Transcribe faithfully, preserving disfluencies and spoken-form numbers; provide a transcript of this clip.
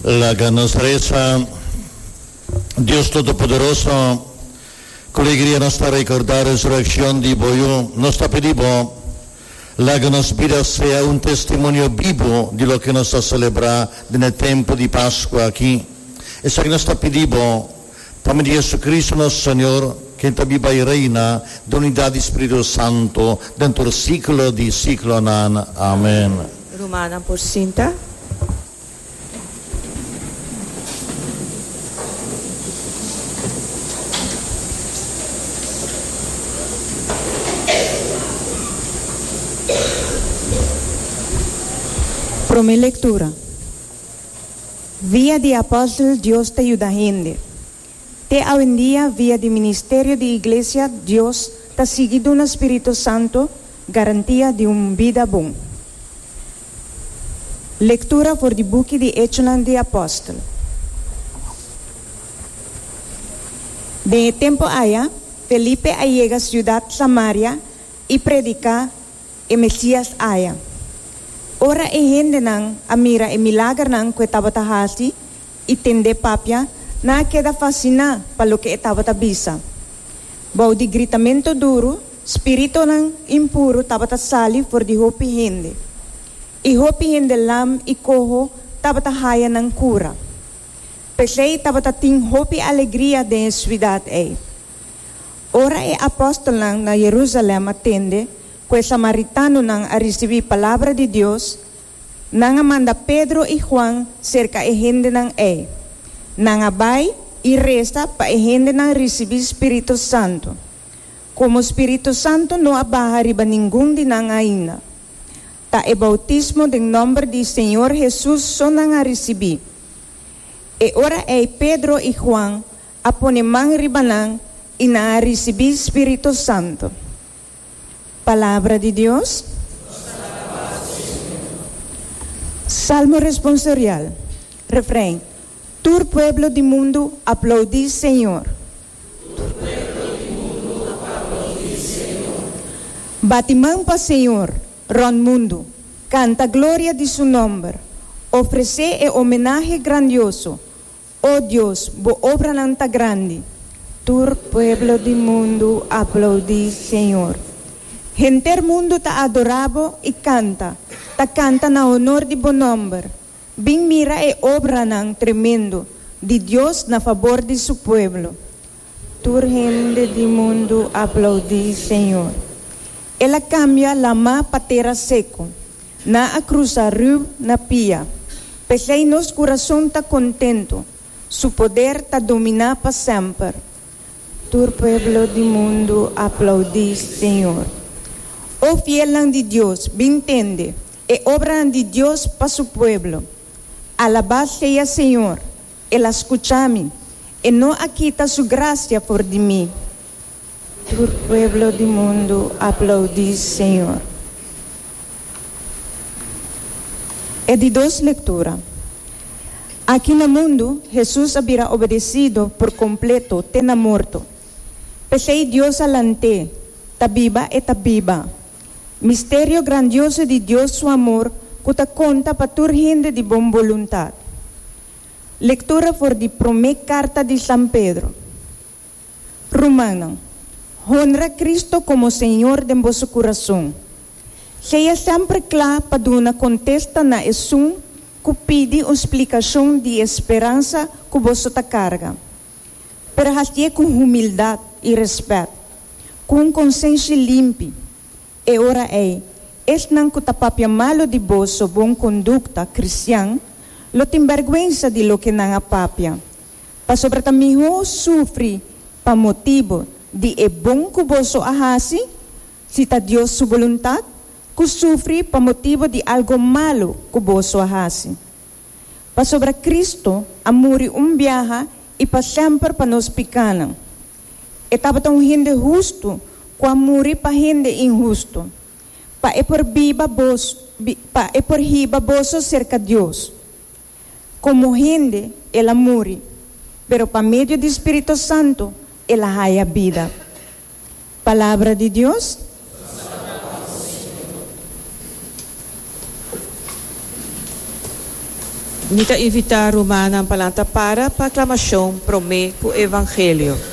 Laga nos resa. Dios Todopoderoso, ku alegria nos ta rekordá resurekshon di bo Yu, nos ta pidi bo, laga nos bida sea un testimonio bibu di loke nos ta selebrá den e tempu di Pasku aki. Esaki nos ta pidi bo, pa medio di Hesukristu nos Señor, ken ta biba i reina den unidat di Spiritu Santu, den tur siglo di siglonan. Amèn. Rumannan por sinta. Promé lektura. Via di apòstel Dios ta yuda hende. Te awendia via di ministerio di Iglesia Dios ta sigui duna Spiritu Santo garantia di un bida bon. Lektura for di buki di Echonan di Apòstel. Den e tempu aya, Felipe a yega siudat Samaria i prediká e Mesias aya. Ora e hendenan a mira e milagernan ku e tabata hasi i tend'é papia, nan a keda fasiná pa loke e tabata bisa. Bou di gritamentu duru, spiritunan impuru tabata sali for di hopi hende, i hopi hende lam i koho tabata haya nan kura. P'esei tabata tin hopi alegria den e suidat ei. Ora e apòstelnan na Yerusalèm a tende ku e samaritanonan a risibí palabra di Dios, nan a manda Pedro i Juan serka e hendenan ei. Nan a bai i resa pa e hendenan risibí spiritu santu. Komo spiritu santu no a baha riba ningun di nan ainda, ta e boutismo den nòmber di Señor Hesus so nan a risibí. E ora ei Pedro i Juan a pone man riba nan i nan a risibí spiritu santu. Palabra di Dios. Salmo responsorial. Refrein. Tur pueblo di mundu aplaudí Señor. Bati man pa Señor rònt mundu, kanta gloria di su nòmber, ofresé e homenahe grandioso. O Dios, bo obranan ta grandi. Tur pueblo di mundu aplaudí Señor. Henter mundu ta adorá bo i kanta, ta kanta na honor di bo nòmber. Bin mira e obranan tremendo di Dios na fabor di su pueblo. Tur hende di mundu aplaudí Señor. El a kambia lamá pa tera seku. Nan a krusa riu na pia. P'esei nos kurason ta kontentu. Su poder ta dominá pa semper. Tur pueblo di mundu aplaudí Señor. O fielnan di Dios, bin tende e obranan di Dios pa su pueblo. Alabá sea Señor! El a skucha mi. E no a kita su grasia for di mi. Tur pueblo di mundu aplaudí Señor. E di dos lektura. Aki na mundu, Hesus a bira obedesido por kompleto te na morto. P'esei Dios a lant'é, ta biba e ta biba. Misterio grandioso di Dios su amor ku ta konta pa tur hende di bon boluntat. Lektura for di promé karta di San Pedro. Rumannan, honra Cristo komo Señor den boso kurason. Sea semper kla pa duna kontesta na esun ku pidi un splikashon di e speransa ku boso ta karga. Pero hasié ku humildat i rèspèt, ku un konsenshi limpi. E ora ei, esnan ku ta papia malu di boso bon kondukta kristian lo tin bèrgwensa di loke nan a papia, pasobra ta mihó sufri pa motibu di e bon ku boso a hasi, si ta Dios su boluntat, ku sufri pa motibu di algu malu ku boso a hasi. Pasobra Kristu a muri un biaha i pa semper pa nos pikánan. E tabata un hende hustu ku a muri pa hende inhustu, pa e por biba bos, pa e por hiba boso serka Dios. Komo hende el a muri, pero pa medio di Spiritu Santu el a haya bida. Palabra di Dios. Mi ta invitá rumannan pa lanta para pa aklamashon promé ku evangelio.